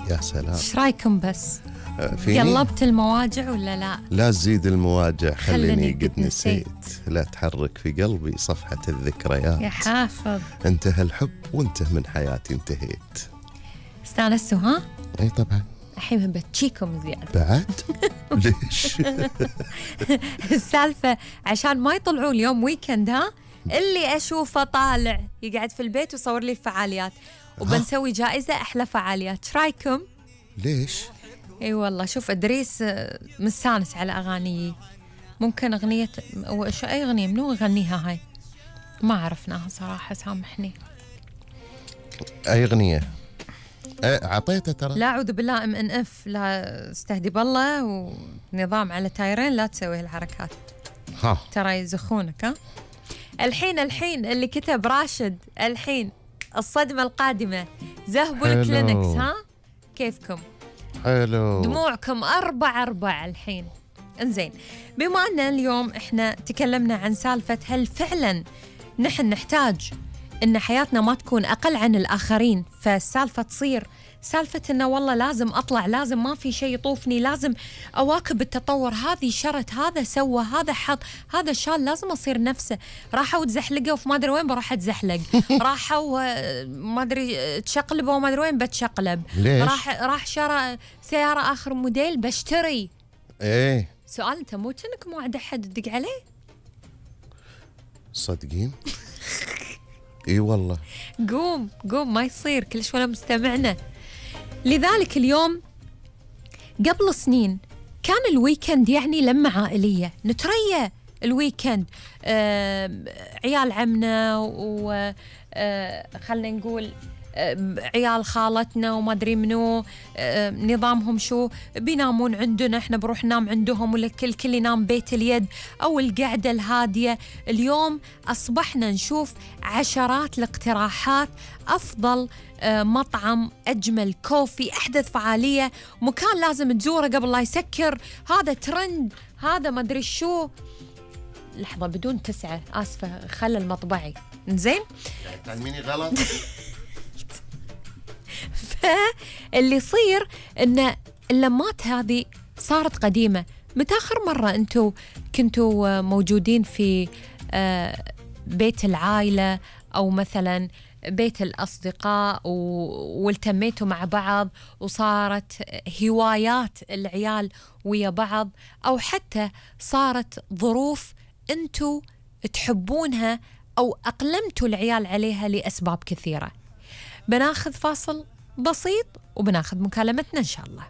يا سلام. ايش رايكم بس؟ فيني؟ قلبت المواجع ولا لا؟ لا تزيد المواجع، خليني قد قد نسيت. لا تحرك في قلبي صفحة الذكريات. يا حافظ. انتهى الحب وانت من حياتي انتهيت. استانستوا ها؟ اي طبعا. الحين بتشيكم زيادة بعد؟ ليش؟ السالفة عشان ما يطلعون اليوم ويكند ها؟ اللي أشوفه طالع يقعد في البيت ويصور لي الفعاليات، وبنسوي جائزة أحلى فعاليات. ايش رايكم؟ ليش؟ اي والله شوف إدريس مستانس على أغاني. ممكن أغنية أي أغنية منو يغنيها هاي؟ ما عرفناها صراحة، سامحني. أي أغنية؟ عطيته ترى. لا أعوذ بالله MNF، لا استهدي بالله، ونظام على تايرين لا تسوي هالحركات. ها ترى يزخونك. ها الحين اللي كتب راشد الحين الصدمة القادمة ذهبوا الكلينكس. ها كيفكم؟ حلو. دموعكم 4 الحين. انزين، بما أن اليوم احنا تكلمنا عن سالفة هل فعلا نحن نحتاج ان حياتنا ما تكون اقل عن الاخرين، فالسالفة تصير سالفة انه والله لازم اطلع، لازم ما في شيء يطوفني، لازم اواكب التطور، هذه شرت، هذا سوى، هذا حط، هذا شال، لازم اصير نفسه. راحوا تزحلقوا في ما ادري وين بروح اتزحلق. راحوا ما ادري تشقلبوا وما ادري وين بتشقلب. ليش؟ راح شرى سيارة اخر موديل بشتري. ايه سؤال، انت مو كأنك موعد احد تدق عليه؟ صدقين؟ اي والله. قوم ما يصير كل شوي مستمعنا. لذلك اليوم قبل سنين كان الويكند يعني لمة عائلية، نتريا الويكند، عيال عمنا خلنا نقول عيال خالتنا وما أدري منو، نظامهم شو، بينامون عندنا، احنا بروح ننام عندهم، ولا كل ينام بيت اليد أو القعدة الهادية. اليوم أصبحنا نشوف عشرات الاقتراحات، أفضل مطعم، أجمل كوفي، أحدث فعالية، مكان لازم تزوره قبل لا يسكر، هذا ترند، هذا ما أدري شو. لحظة بدون 9، آسفة، خلى المطبعي. إنزين؟ تعلميني غلط. فاللي يصير إن اللمات هذه صارت قديمة. متى آخر مرة أنتوا كنتوا موجودين في بيت العائلة أو مثلا بيت الأصدقاء والتميتوا مع بعض وصارت هوايات العيال ويا بعض، أو حتى صارت ظروف أنتوا تحبونها أو أقلمتوا العيال عليها لأسباب كثيرة؟ بناخذ فاصل بسيط وبناخذ مكالمتنا إن شاء الله.